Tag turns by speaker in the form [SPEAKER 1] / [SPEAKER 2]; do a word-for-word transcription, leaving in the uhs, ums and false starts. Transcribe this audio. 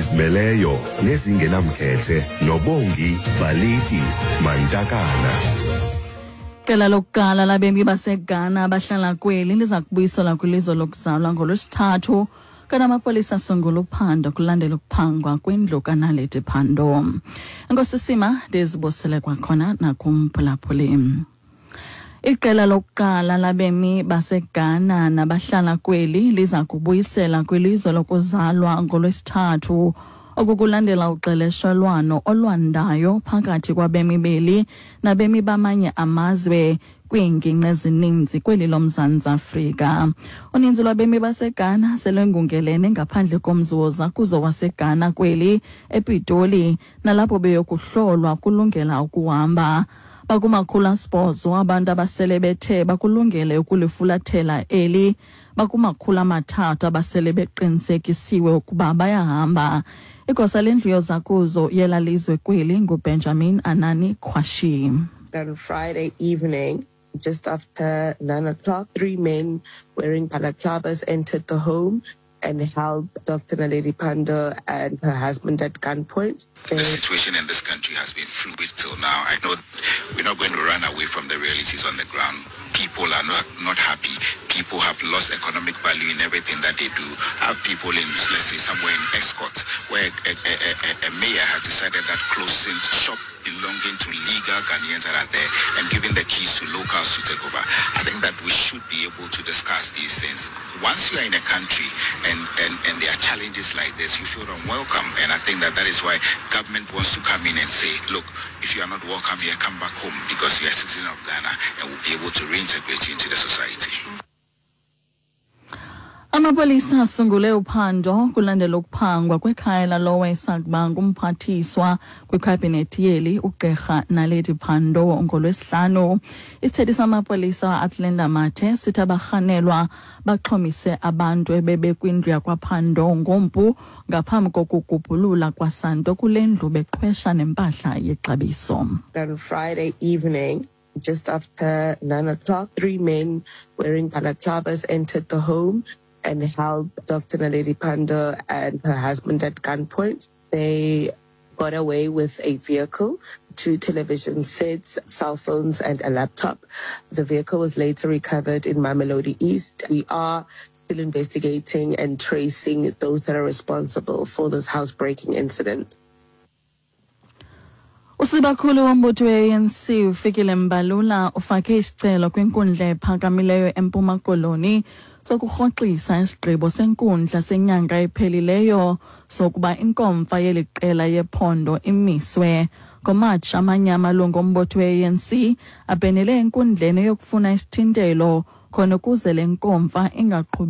[SPEAKER 1] Ezizimeleyo nezingenamkhethe noBongi Baliti Mantakana.
[SPEAKER 2] Iqela lokuqala labemi baseGhana abahlala kweli liza kubuyiselwa kwilizwe lokuzalwa ngoLwesithathu, kanti amapolisa asungula uphando kulandela ukuphangwa kwindlu kaNaledi Pandor. Enkosi Sima, ndizibusele kwakhona nakumphulaphuli. Iqela lokuqala labemi baseGhana nabahlala kweli liza kubuyisela kwilizwe lokuzalwa ngoLwesithathu. Oku kulandela uqeleshelwano olwandayo phakathi kwabemi beli nabemi bamanye amazwe kwiingingqi ezininzi kweli loMzantsi Afrika. Uninzi lwabemi baseGhana selengungelene ngaphandle komzi wozakuzo waseGhana kweli ePitoli, nalapho beyokuhlolwa kulungela ukuhamba. Bakumakhulu asibhozo abantu abasele bethe bakulungele ukulifulathela eli, bakumakhulu amathathu abasele beqinisekisiwe ukuba bayahamba. Igosa lendlu yozakuzo yela lizwe kweli nguBenjamin Anani Kwashi.
[SPEAKER 3] On Friday evening, just after nine o'clock, three men wearing balaclavas entered the home and held Doctor Naledi Pandor and her husband at gunpoint.
[SPEAKER 4] The situation in this country has been fluid till now. I know we're not going to run away from the realities on the ground. People are not, not happy. People have lost economic value in everything that they do. I have people in, let's say, somewhere in Escort, where a, a, a, a mayor has decided that closing shop belonging to legal Ghanaians that are there and giving the keys to locals to take over. I think that we should be able to discuss these things. Once you are in a country and, and, and there are challenges like this, you feel unwelcome. And I think that that is why government wants to come in and say, look, if you are not welcome here, come back home because you are a citizen of Ghana and we'll be able to reintegrate you into the society.
[SPEAKER 2] Amapolisa asungule uphando kulandela ukuphangwa kwekhaya lalowo esakuba ngumphathiswa kwikhabhinethi yeli ugqirha Naledi Pandor ngoLwesihlanu. Isithethi samapolisa Athlenda Mathe sithi abarhanelwa baxhomise abantu ebebekwindlu yakwaPandor ngompu ngaphambi kokugubhulula kwasanto kule ndlu beqhwesha nempahla yexabiso.
[SPEAKER 3] On Friday evening, just after nine o'clock, three men wearing balaclavas entered the home and held Doctor Naledi Pandor and her husband at gunpoint. They got away with a vehicle, two television sets, cell phones, and a laptop. The vehicle was later recovered in Mamelodi East. We are still investigating and tracing those that are responsible for this housebreaking incident.
[SPEAKER 2] Usibakhulu wombutho we-A N C uFikile Mbalula ufake isicelo kwinkundla ephakamileyo eMpuma Koloni sokurhoxisa isigqibo senkundla senyanga ephelileyo sokuba inkomfa yeli qela yephondo imiswe. NgoMatshi, amanye amalungu ombutho we-A N C abhenele enkundleni eyokufuna isithintelo khona ukuze le nkomfa ingaqhubi.